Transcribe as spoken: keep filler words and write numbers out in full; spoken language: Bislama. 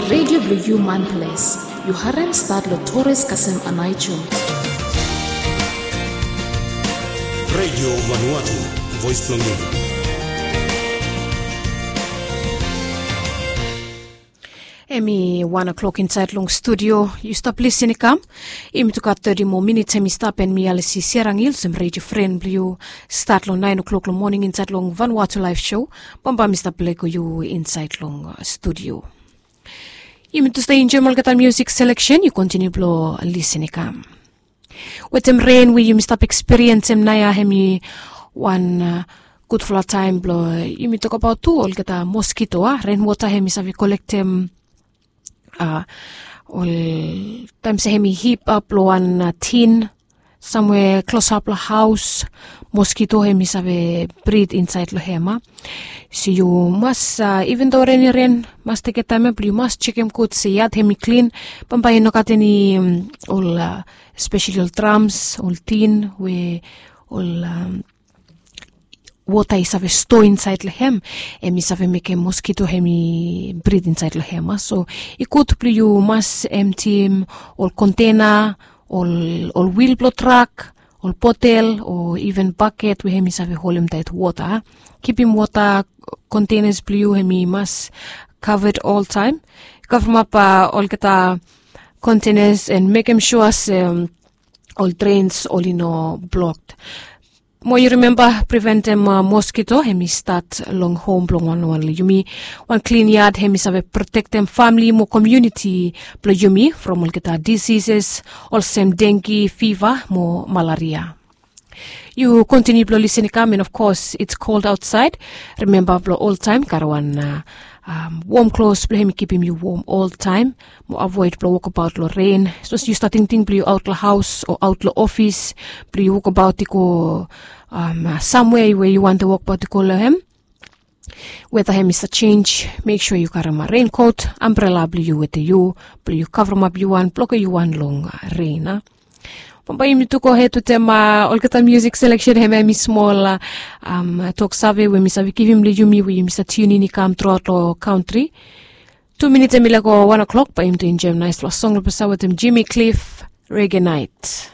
Redio blong yu man ples. Yu harem stat long Torres kasem Anaicho. Redio Vanuatu, voice blong yu. Em i wan o'clock insaed long studio. Yu stap lisin i kam. Yumi tu gat thirty moa minit em i stap, en mi Alisi Serangil olsem redio fren blong yu. Stat long naen o'clock long moning insaed long Vanuatu Live Show. Bambae mi stap lego yu insaed long studio. Yumi tu stap enjoem olgeta musik seleksen. Yu kontiniu blong lisin i kam. Wetem ren we yumi stap ekspiriensem naoia, em i wan gudfala taem blong yumi tokbaot tu olgeta moskito, a ren wota em i save kolektem, a ol taem se em i hip ap long wan tin samwe klosap long haos. Moskito em i save brid insaed long em, a so yu mas, iven do ren i ren, mas tekem taem ya blong yu mas jekem gud se yad em i klin. Bambae i no gat eni ol speseli ol drams, ol tin we ol wota i save stoa insaed long em, em i save mekem moskito em i brid insaed long em, a so i gud blong yu mas emtim ol kontena, ol wil blong trak, ol botel o iven baket we em i save holem taet wota. Kipim wota kontenas blong yu em i mas kaved oltaem. Kavremap olgeta kontenas en mekem sua se ol drens oli no blok. Mo yu rimemba, priventem moskito em i stat long hom blong wanwan long yumi. Wan klin yad em i save protektem famle mo komuniti blong yumi from olgeta disises olsem dengi fiva mo malaria. Yu kontiniu blong lisin i kam, and of course it's cold outside. Rimemba blong oltaem karem wan wom klos blong em i kipim yu wom oltaem. Mo avoed blong wokbaot long ren. Sapos yu stap tingting blong yu aot long haos o aot long ofis blong yu wokbaot i go samwea we yu wantem wokbaot i go long em, weta em i save jenj, mek sua yu karem ren kot, ambrela blong yu wetem yu blong yu kavremap yu wan, blokem yu wan long ren, a. Bambae yumi tu gohed wetem olgeta musik seleksen em, em i smol toksave we mi save givim long yumi we yumi save tiunin i kam truaot long kantri. Tu minit em i laek go wan o'clock, bae yumi tu enjoem naesfala song long pasa wetem Jimmy Cliff, Reggae Night.